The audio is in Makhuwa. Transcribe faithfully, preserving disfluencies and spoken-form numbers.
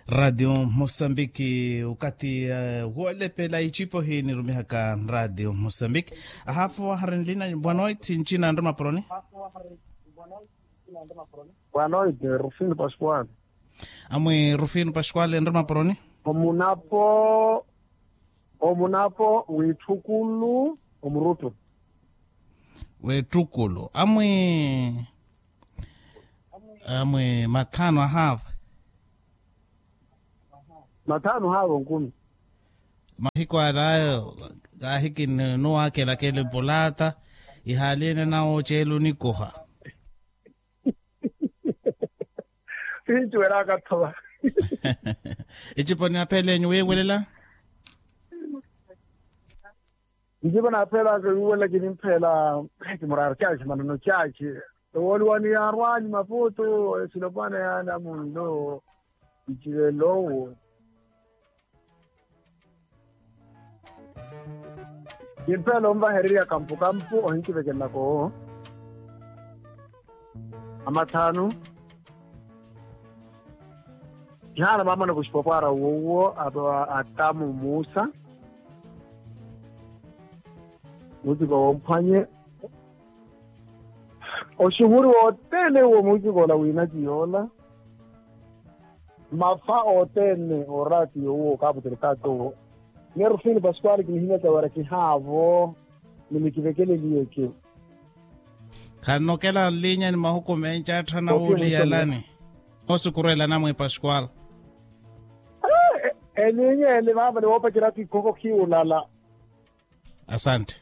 Ratio mosambiki okathi, wolepela icipo hi nirumihaka ratio mosambiki. Ahafu aharinlina bwanoit ncina nrima poroni. Bwanoit rufino pascual. Amwi rufino pascual nrima poroni. Omunapo omunapo witthukulu omurutu. Wettukulu amwi amwi mathano ahaava. Mathano haava onkumi. Mahiku alaayo kaahiki nuwaakelakela epulaata ihaali ene nawo oceela onikuha. Sincuwelaka thova. Ecipo ni aphelenyu wiiwelela. Njivo naaphelaka wiiwelela kinimphela kimuraari chachi maneno chachi. Ewooliwani yaarwani maputu esilopwana yaana munlo ncivelowo. Kimphela onvahererya kampukampu ohinkivekelelaka owo. Amathanu. Kihaana maamana kuxipopwaara uwo uwo atamu muusa. Muutiko womphwanye oxuhuri wothene uwo muutiko ola wiinaki yoola. Mafa othene oraati yoowo okaaputela okaati owo. Neerufini pascual kinihinyaka wira kihaavo. Ni nikivekeleliye eke. Khanokela nlinya ni mahuku menci atthana wuuliyalani. Osukurwela namwi pascual. Elinya eli vaava ni woopacerya ati khokho khiwulala. Asante.